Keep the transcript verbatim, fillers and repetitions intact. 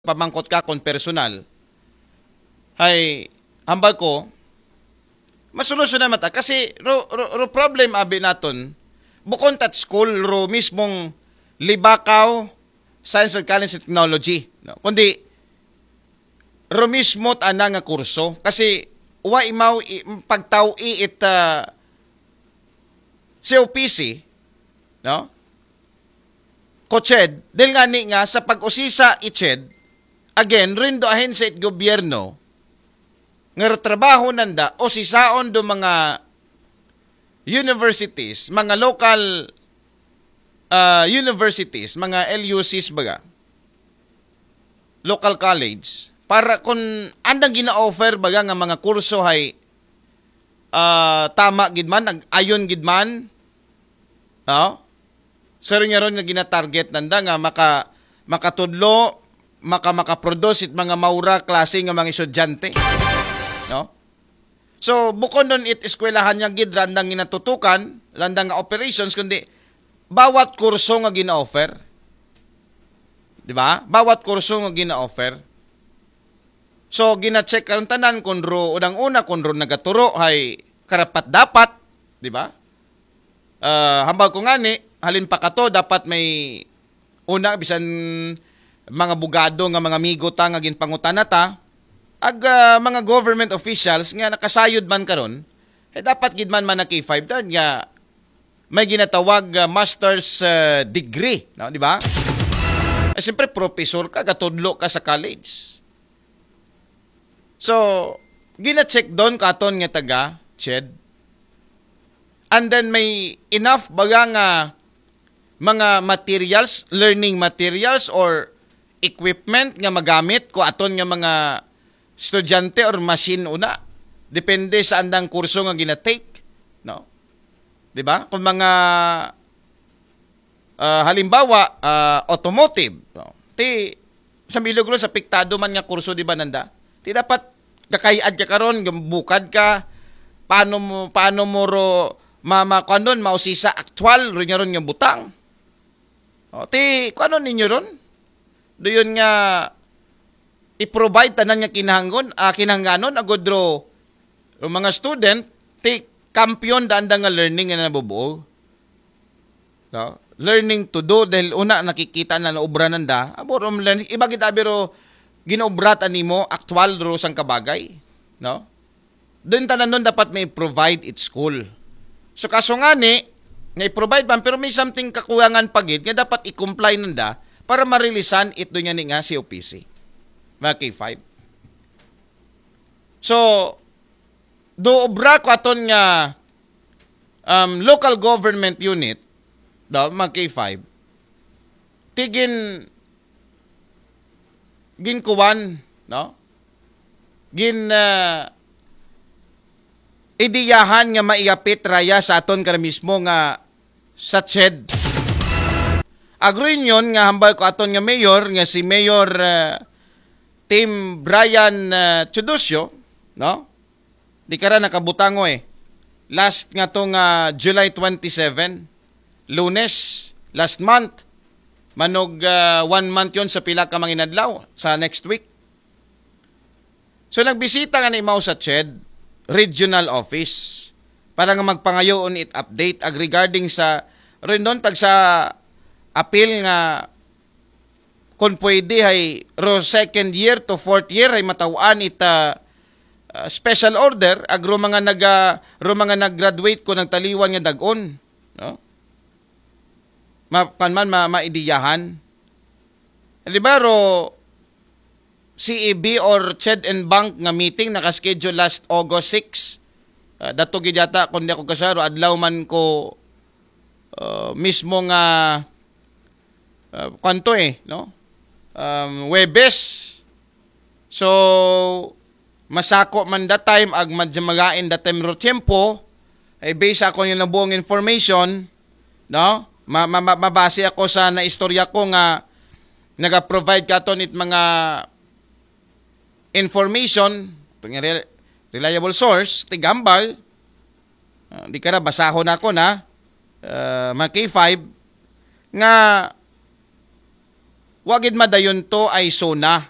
pamangkot ka kon personal. Hay, hambal ko, masolusyonan man ta. Kasi, ro, ro, ro problem abi naton, bukon ta it school, ro mismong Libakaw Science and College and Technology. No? Kundi, ro mismo tana nga kurso. Kasi, wa imaw i, pagtaw-i it, ah, C O P C, no? Ko CHED, dahil nga ni nga sa pag-usisa i CHED, again, rindo ahensya it gobyerno, nga trabaho nanda, usisaon do mga universities, mga local, ah, universities, mga L U Cs baga, local college, para kung andang gina-offer baga nga mga kurso hay, ah, tama gid man, ag-, ayon gid man, no? Sir, nga ron nga gina-target nanda nga maka-, makatudlo, maka-, makaproduce it mga maura klase nga mga estudyante. No? So, bukon nun it eskwelahan nga gid randang ginatutukan, randang nga operations, kundi bawat kurso nga gina-offer. Di ba? Bawat kurso nga gina-offer. So, gina-check karon tanan kung ro, unang-una, kung ro nagaturo, hay karapat-dapat, di ba? Ah, hambal ko nga ni, halin pa kato, dapat may una, bisan mga bugado nga mga amigo ta nga ginpangutana ta, ag, ah, mga government officials nga nakasayod man karon, eh, dapat gid man man na K five ta nga may ginatawag, ah, master's, ah, degree, no, di ba? Eh, siyempre, professor ka, gatudlo ka sa college. So, gina-check doon katon nga taga CHED. And then may enough baga nga mga materials, learning materials or equipment nga magamit ko aton nga mga estudyante or machine una. Depende sa andang kurso nga gina-take, no? Di ba? Kung mga ah, halimbawa, ah, automotive. No? Ti, sa bilog ron, sa piktado man nga kurso, di ba, nanda? Ti dapat kakayad ka karon, bukad ka, paano mo, paano mo ro, ma, ma, kuwan ron, mausisa aktual, ron nga ron nga butang. O, ti, kuwan ninyo ron? Doon nga, i-provide tanan nga kinahanggon, ah, kinahangganon, agod ro, ro mga student, ti, kampiyon daan da nga learning nga nabubuo. No? Learning to do, dahil una nakikita na naobra nanda, abo ro learning, iba gid abi ro ginaobra ta nimo, aktual ro sang kabagay, no? Doon tanan nun dapat may provide it school. So kaso nga ni, nga i-provide man, pero may something kakulangan pa gid nga dapat i-comply nanda para marilisan it doon nga ni nga C O P C. Mga K five. So, do obra ko aton nga, um, local government unit, do, mga K five, ti gin, ginkuwan, no? Gin, ah, ideyahan nga maiapit raya sa aton kana mismo nga sa CHED. Ag-reunion nga hambal ko aton nga mayor, nga si Mayor, ah, Tim Brian, ah, Teodosio, no? Di kara nakabutango eh. Last nga to nga July twenty-seven, Lunes, last month. Manog, ah, one month yon sa pila ka mga inadlaw, sa next week. So, nagbisita nga ni mao sa CHED Regional Office para nga magpangayoon it update ag regarding sa rindon tag sa apil nga kung pwede hay ro second year to fourth year hay mataw-an it, ah, ah, special order ag ro mga naga-, ro mga nag-graduate ko nagtaliwan nga dag-on, no? Ma-, kan man ma-, maidiyahan. Di ba ro C E B or CHED and Bank nga meeting naka-schedule last August six. Ah, dato gid yata, kung di ako kasaro, adlaw man ko, ah, mismo nga, ah, kanto eh, no? Um, Webes. So, masako man that time, ag madya magain that time ro tiyempo, ay based ako yung nabuong information, no? Ma-, ma-, ma-, mabase ako sa naistorya ko nga naga-provide katon it mga information, ito nga re-, reliable source, tigambal, ah, di ka na, basahon ako na, ah, mga K five, nga Wa gid madayon to ay SONA.